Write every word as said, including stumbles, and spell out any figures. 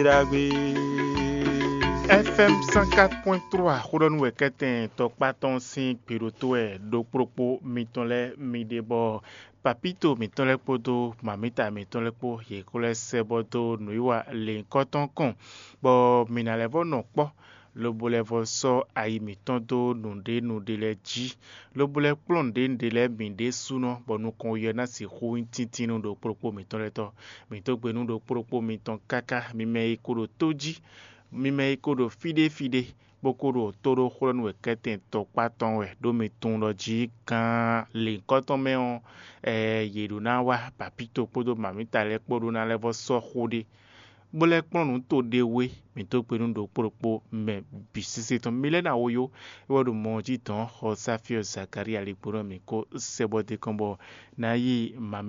Ɖagbe. F M cent quatre point trois xó ɖɔ nú wɛ kɛ́tɛn tɔkpá tɔn sín gbeɖótó wɛ ɖokpóɖokpó mitɔn lɛ́ɛ mi ɖe bɔ papíto mǐtɔn lɛ́ɛ kpódó mamǐta mǐtɔn lɛ́ɛ kpó yě ko lɛ́ sɛ́ bɔ dó nǔwiwa lěhunkɔtɔn kɔn, bɔ mǐ ná lɛ́ vɔ́ nɔ kpɔ́, lobo lɛ́ vɔ́ sɔ́ ayi mǐtɔn dó nǔɖé nǔɖé lɛ́ɛ jí, lobo lɛ́ kplɔ́n nǔɖé nǔɖé lɛ́ɛ bǐ ɖésúnɔ, bɔ nukɔn ɔ́ ná sixú nyí tíntín nú ɖokpóɖokpó mǐtɔn lɛ́ɛ tɔ́. Mǐ dó gbe nú ɖokpóɖokpó mitɔn káká, mi mɛ e ko ɖo tó jí, mi mɛ e ko ɖo fíɖéfíɖé, bó ko ɖo tó ɖó xlɔ́ nú wɛ kɛ́tɛn tɔkpá tɔn wɛ, ɖó mi tunwun ɖɔ jí gán lěhunkɔtɔn mɛ ɔ́, ɛ, yě ɖó ná wá papíto kpódó mamǐta lɛ́ɛ kpó ɖó ná lɛ́ vɔ́ sɔ́ xó ɖé, bó lɛ́ kplɔ́n nǔ to ɖé wé. Mǐ dó gbe nú ɖokpóɖokpó mɛ bǐ sésé tɔn. Mi lɛ́ ná wo yó, é wɛ ɖo mɔ ɔ́ jí dɔ̌n xɔ Sáfíɔ Zakalía ligbó nú mǐ kó sɛ bɔ d'é kɔn bɔ ná yí mamí